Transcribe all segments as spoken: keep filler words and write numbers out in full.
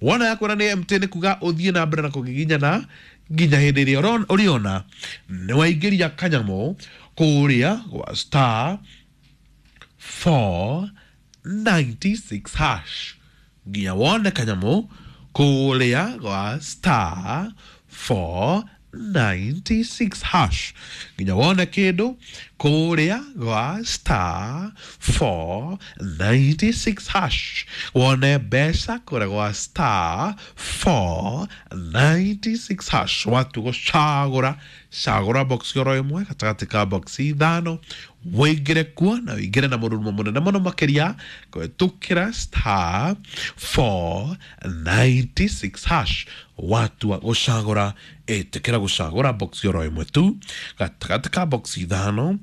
Wona yakwĩra nĩ empty, nĩ kuga ũthiĩ na mbere na kũgiginyana nginya hĩndĩ ĩrĩa ũron- ũrĩona nĩ waingĩria kanyamũ kũrĩa gwa star four ninety-six hash, nginya wone kanyamũ kũrĩa gwa star four ninety-six hash, nginya wone kĩndũ kũrĩa gwa star four ninety-six hash, wone mbeca kũrĩa gwa star four ninety-six hash. Watu gũcagũra, cagũra box oro ĩmwe gatagatĩ ka box ithano, wĩingĩre kuo na wĩingĩre na mũrurumo mũnene mũno makĩria kũhetũkĩra star four ninety-six hash. Watua gũcagũra, ĩtĩkĩra gũcagũra box oro ĩmwe tu gatagatĩ ka box ithano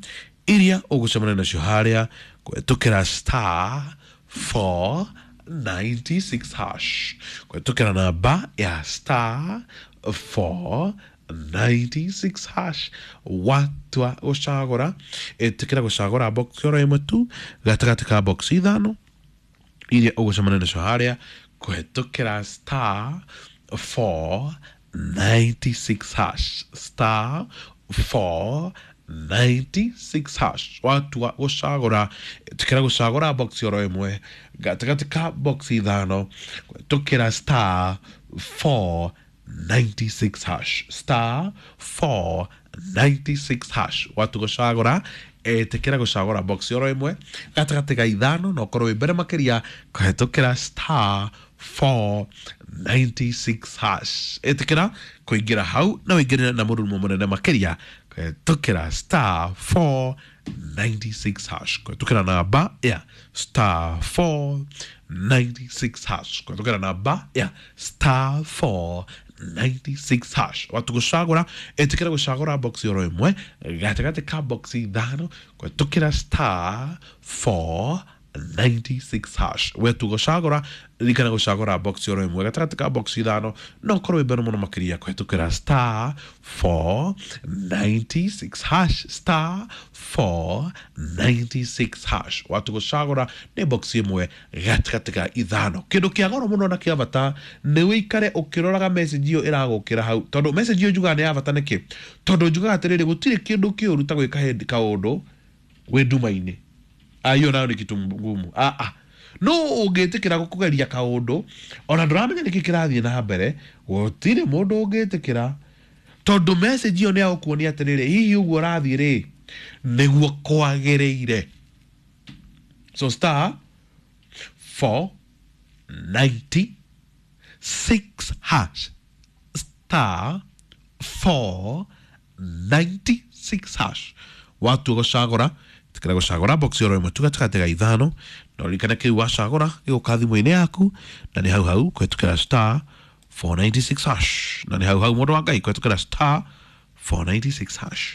iria ũgũcemania nacio harĩa kũhetũkĩra star four ninety-six hash, kũhetũkĩra namba ya star four ninety-six hash. Watua gũcagũra, ĩtĩkĩra gũcagũra box oro ĩmwe tu gatagatĩ ka box ithano iria ũgũcemania nacio harĩa kũhetũkĩra star four ninety-six hash, star four ninety-six hash. Watua gũcagũra, ĩtĩkĩra gũcagũra box oro ĩmwe gatagatĩ ka box ithano kũhetũkĩra star four ninety-six hash, star four ninety-six hash. Watu gũcagũra, ĩtĩkĩra gũcagũra box oro ĩmwe gatagatĩ ga ithano na ũkorwo wĩ mbere makĩria kũhetũkĩra star four ninety-six hash. Ĩtĩkĩra kũingĩra hau na ũingĩre na mũrurumo mũnene makĩria kũhetũkĩra star four ninety-six hash, kũhetũkĩra namba ya star four ninety-six hash, kũhetũkĩra namba ya star four ninety-six hash. Watu gũcagũra, ĩtĩkĩra gũcagũra box oro ĩmwe gatagatĩ ka box ithano kũhetũkĩra star four ninety-six hash. Wetu gũcagũra, ririkana gũcagũra box oro ĩmwe gatagatĩ ka box ithano no ũkorwo wĩ mbere mũno makĩria kũhetũkĩra star four ninety-six hash, star four ninety-six hash. Watu gũcagũra nĩ box ĩmwe gatagatĩ ka ithano. Kĩndũ kĩa goro mũno na kĩa bata nĩ wĩikare ũkĩroraga message ĩyo ĩragũkĩra hau, tondũ message ĩyo njugaga nĩ ya bata. Nĩkĩ? Tondũ njugaga atĩrĩrĩ, gũtirĩ kĩndũ kĩũru ta gwĩka hĩndĩ kaũndũ wĩ nduma-inĩ. Ah, hiyo nayo ni kitu ngumu. Ah, ah. No ũngĩtĩkĩra kũgeria kaũndũ ona ndũramenya nĩkĩ kĩrathiĩ na mbere, gũtirĩ mũndũ ũngĩtĩkĩra, tondũ message ĩyo nĩ ya gũkuonia atĩrĩrĩ, hihi ũguo ũrathiĩ rĩ, nĩguo kwagĩrĩire? So star four ninety-six hash, star four ninety-six hash. Watua gũcagũra, ĩtĩkĩra gũcagũra box oro ĩmwe tu gatagatĩ ga ithano, na ũririkane kĩu wacagũra gĩgũka thimũ-inĩ yaku, na nĩ hau hau kũhetũkĩra star four ninety-six hash, na nĩ hau hau, mũndũ wa Ngai, kũhetũkĩra star four ninety-six hash.